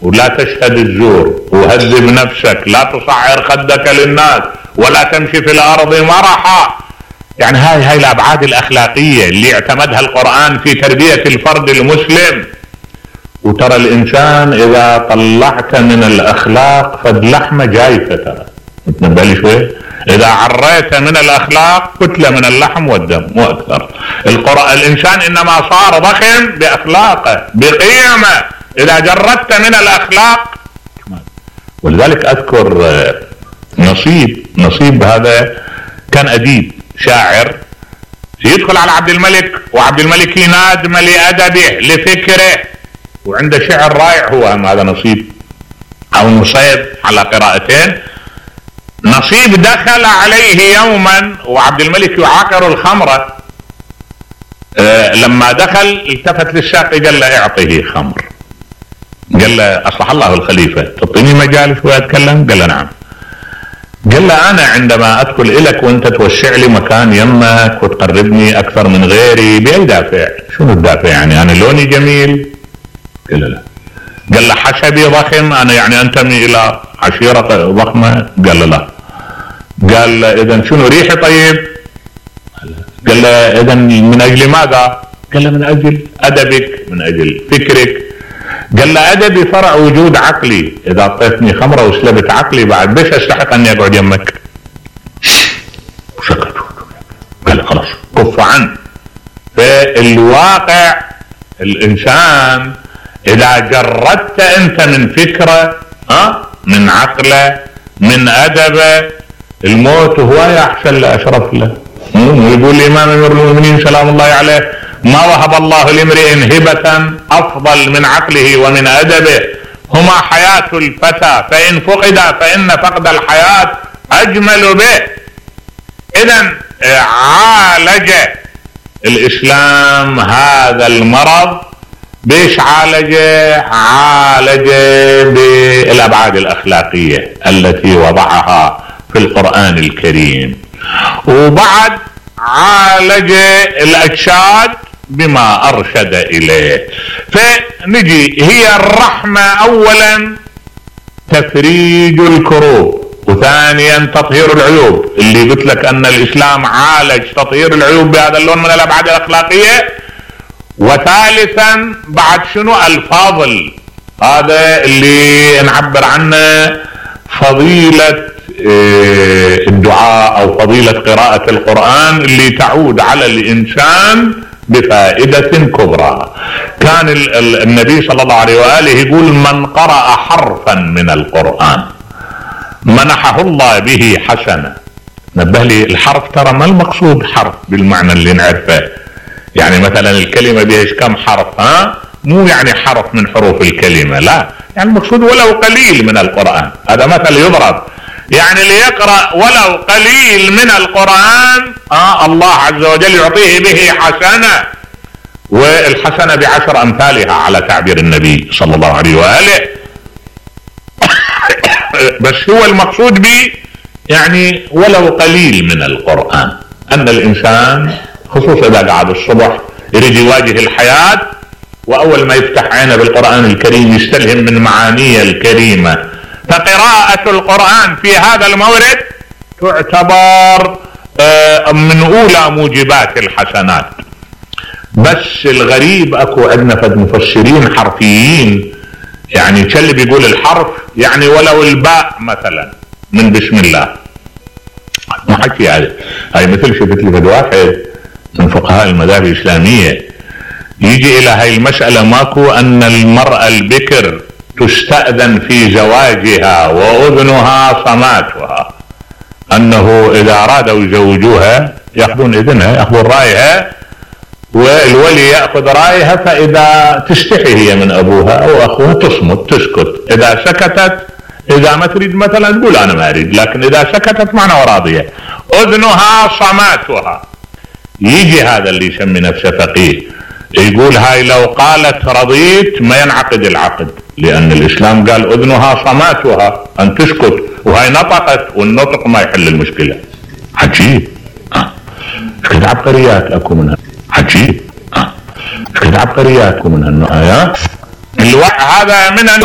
ولا تشهد الزور وهذب نفسك، لا تصعر خدك للناس ولا تمشي في الارض مرحا. يعني هاي الابعاد الاخلاقية اللي اعتمدها القرآن في تربية الفرد المسلم. وترى الانسان اذا طلعت من الاخلاق فد لحمة جايفة، ترى تنبه لي شوي، اذا عريت من الاخلاق كتلة من اللحم والدم مو اكثر. الانسان انما صار ضخم باخلاقه بقيمه، اذا جردت من الاخلاق. ولذلك اذكر نصيب هذا كان اديب شاعر يدخل على عبد الملك، وعبد الملك ينادم لادبه لفكره، وعنده شعر رائع. هو هذا نصيب او نصيب على قراءتين. نصيب دخل عليه يوما وعبد الملك يعاقر الخمرة، لما دخل التفت للساقي قال له اعطيه خمر. قال له اصلح الله الخليفة تعطيني مجال شوي اتكلم؟ قال له نعم. قال له انا عندما ادخل الك وانت توسع لي مكان يمك وتقربني اكثر من غيري باي دافع؟ شنو الدافع يعني؟ انا لوني جميل؟ قال له لا. قال له حسبي ضخم، انا يعني انتمي الى عشيرة ضخمة؟ قال له لا. قال له اذا شنو ريحي طيب؟ قال له اذا من اجل ماذا؟ قال له من اجل ادبك، من اجل فكرك. قال له ادبي فرع وجود عقلي، اذا اعطيتني خمرة وسلبت عقلي بعد بيش استحق اني اقعد يمك؟ سكت. قال له خلاص كف عنه. فالواقع الانسان اذا جردت انت من فكرة من عقله من ادبه، الموت هو احسن لاشرف له. يقول الامام امير المؤمنين سلام الله عليه ما وهب الله لامرئ هبة افضل من عقله ومن ادبه، هما حياة الفتى فان فقد فان فقد الحياة اجمل به. اذا عالج الاسلام هذا المرض. بيش عالج بالابعاد الاخلاقية التي وضعها في القرآن الكريم، وبعد عالج الاجساد بما ارشد اليه. فنجي هي الرحمة اولا تفريج الكروب، وثانيا تطهير العيوب، اللي قلت لك ان الاسلام عالج تطهير العيوب بهذا اللون من الابعاد الاخلاقية. وثالثا بعد شنو؟ الفاضل، هذا اللي نعبر عنه فضيلة الدعاء او فضيلة قراءة القرآن اللي تعود على الانسان بفائدة كبرى. كان النبي صلى الله عليه وآله يقول من قرأ حرفا من القرآن منحه الله به حسنة. نبه لي الحرف، ترى ما المقصود حرف بالمعنى اللي نعرفه، يعني مثلا الكلمة بيش كم حرف؟ مو يعني حرف من حروف الكلمة، لا، يعني المقصود ولو قليل من القرآن. هذا مثل يضرب، يعني ليقرأ ولو قليل من القرآن الله عز وجل يعطيه به حسنة، والحسنة ب10 أمثالها على تعبير النبي صلى الله عليه وآله. بس هو المقصود به يعني ولو قليل من القرآن، أن الإنسان خصوصا إذا قعد الصبح يريد يواجه الحياة، وأول ما يفتح عينه بالقرآن الكريم يستلهم من معانيه الكريمة. فقراءة القرآن في هذا المورد تعتبر من أولى موجبات الحسنات. بس الغريب أكو عندنا فد مفسرين حرفيين، يعني كل بيقول الحرف يعني ولو الباء مثلا من بسم الله، ما حكي هاي مثل شفت لي فد واحد من فقهاء المذاهب الإسلامية يجي إلى هاي المسألة ماكو أن المرأة البكر تستأذن في زواجها وأذنها صماتها، أنه إذا أرادوا يزوجوها يأخذون إذنها، يأخذون رأيها، والولي يأخذ رأيها، فإذا تستحي هي من أبوها أو أخوها تصمت تسكت، إذا سكتت إذا ما تريد مثلا تقول أنا ما أريد، لكن إذا سكتت معنى وراضية. أذنها صماتها. يجي هذا اللي يسمي نفسه فقيه يقول هاي لو قالت رضيت ما ينعقد العقد، لأن الإسلام قال أذنها صماتها أن تسكت، وهاي نطقت والنطق ما يحل المشكلة. عجيب. كده عبقريات أكو منها، عجيب. كده عبقريات أكو منها النوع. هذا من